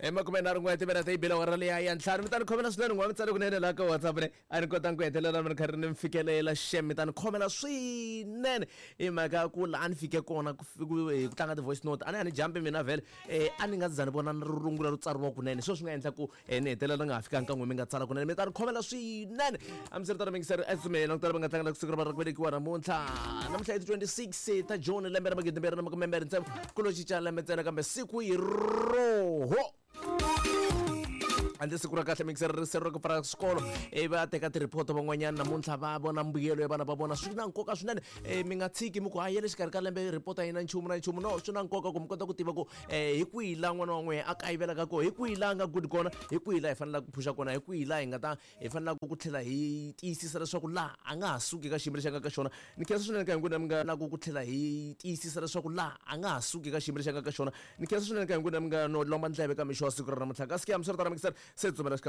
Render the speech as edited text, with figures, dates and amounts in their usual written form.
I 31 timinete yi bile awara liya ya ntlhanu. Mi ta ni khomela swinene n'wa mi tsale kunene laha ka WhatsApp ne a ni kotanga ku hetelela mi ri karhi ni mi fikelela xem mi ta ni khomela swinene hi mhaka ya ku laha ni fike kona ku hi ku tlanga ti-voice note a ni a ni jampi mina vhele a ni nga za ni vona rungula ro tsariwa kunene sweswo swi nga endla ku ni hetelela ni nga ha fikanga ka n'we mi nga tsala kunene mi ta ni khomela swinene hambiswiritano mingiseri esumeni ku tala va nga tlangela siku ra va ra ku velekiwa namuntlha namuntlha i ti 26 ta june lembe ra 2026 ku lo cinca lembe ntsena kambe siku hi roho handle siku ra kahle mixer ri ra ku pfala swikolo ivi va teka tirhiphoto van'wanyana namuntlha va vona mbuyelo ya vana va vona swi na nkoka swinene mi nga tshiki mi ku hayi ya le xikarhi ka lembe rhipota yi na nchumu na nchumu no swi na nkoka ku mi kota ku tiva ku hi kwihi laha n'wana wa n'wehe a kayivelaka kona hi kwihi laha a nga good kona hi kwihi laha hi fanelaka ku phusha kona hi kwihi laha hi nga ta hi fanelaka ku tlhela hi tiyisisa leswaku laha a nga ha suki ka xiyimo lexi a nga ka xona ni khensa swinene ka hinkwenu mi nga laku ku tlhela hi tiyisisa leswaku laha a nga ha suki ka xiyimo lexi a nga ka xona ni khensa swinene ka hinkwenu mi nga no lomba ndleve ka mixo wa siku ra namuntlha kasi ke hambiswiritano mikiseri se tsumela xikan'we.